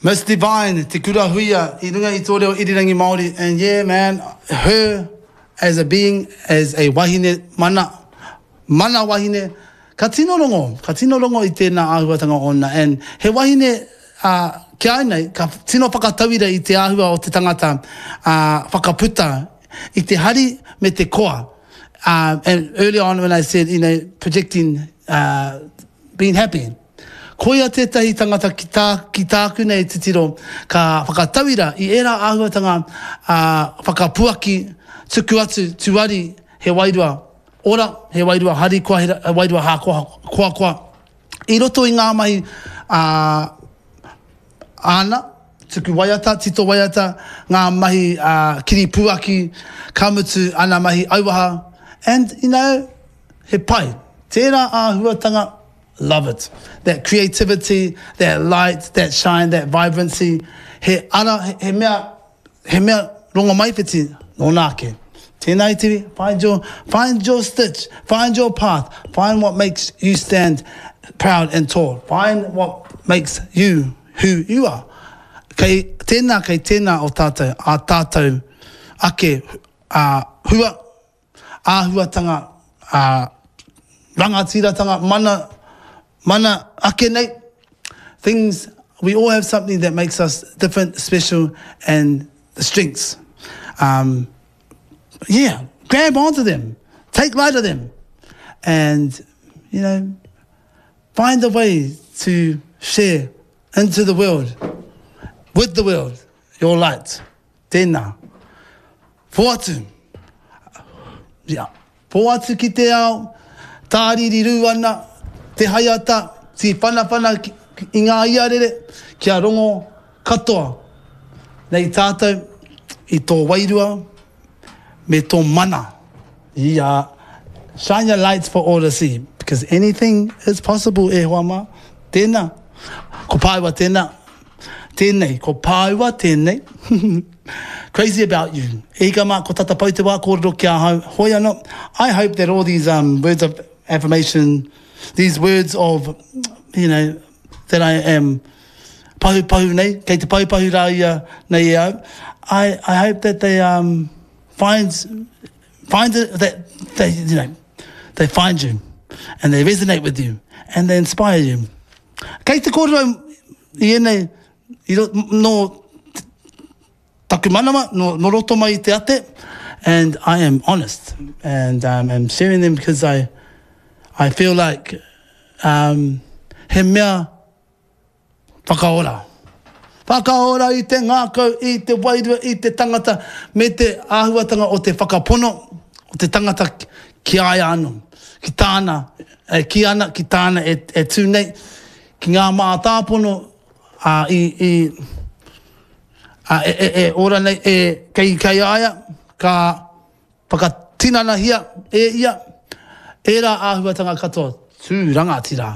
Miss Devine, Te Kura Huia, i runga i tō reo irirangi Māori, and yeah man, her as a being, as a wahine mana, mana wahine, ka tino rongo, ka tino rongo i tēnā āhuatanga ōna, and he wahine, ā, ki a au nei, ka tino whakatauira i te āhua o te tangata, ā, whakaputa i te hari me te koa, ā, and earlier on when I said, you know, projecting, ā, being happy. Koia tētahi tangata ki tā, ki tāku nei titiro, ka whakatauira i ērā āhuatanga, ā, whakapuaki, tuku atu, tuari, he wairua ora, he wairua harikoa, he wairua hākoa, koakoa, i roto i ngā mahi, ā, āna, tuku waiata, tito waiata, ngā mahi, ā, kiripuaki, ka mutu ana mahi auaha, and, you know, he pai. Tērā āhuatanga, Love it. That creativity, that light, that shine, that vibrancy, he ara, he mea, he mea rongomaiwhiti nōna ake. Tēnā e Tiwi, find your, find your stitch, find your path, find what makes you stand proud and tall, find what makes you who you are. Kei tēnā, kei tēnā o tātou, ā tātou ake, ā, hua, āhuatanga, ā, rangatiratanga, mana, mana ake nei, things, we all have something that makes us different, special, and the strengths. Um, yeah, grab onto them, take light of them, and, you know, find a way to share into the world, with the world, your light. Tēnā. Whoatu. Yeah. Whoatu ki te ao, tāriri rū ana, te haiata, tīwhanawhana i ngā iarere, kia rongo katoa nei tātou i tō wairua me tō mana. Yeah. Shine your lights for all to see, because anything is possible e hoa mā. Tēnā. Ko Pāua tēnā. Tēnei, ko Pāua tēnei. Crazy about you. E hika mā, ko tata pau te wā kōrero ki ahau. Hoi anō, I hope that all these um, words of affirmation, these words of, you know, that I am pahupahu nei, kei te pahupahu rā ia nei e au, I, I hope that they um, find, find it, that they, you know, they find you and they resonate with you and they inspire you. Kei te kōrero i ēnei, i ro, nō taku manawa, nō, nō roto mai i te ate, and I am honest, and um, am sharing them because I, I feel like um, he mea whakaora. Whakaora i te ngākau, i te wairua, i te tangata, me te āhuatanga o te whakapono o te tangata ki a ia anō, ki tāna e kī ana, ki tāna e, e tū nei, ki ngā mātāpono a, i, i, a, e, e, e ora nei, e, kei, kei a ia, ka whakatinanahia e ia ērā āhuatanga katoa, tū rangatira.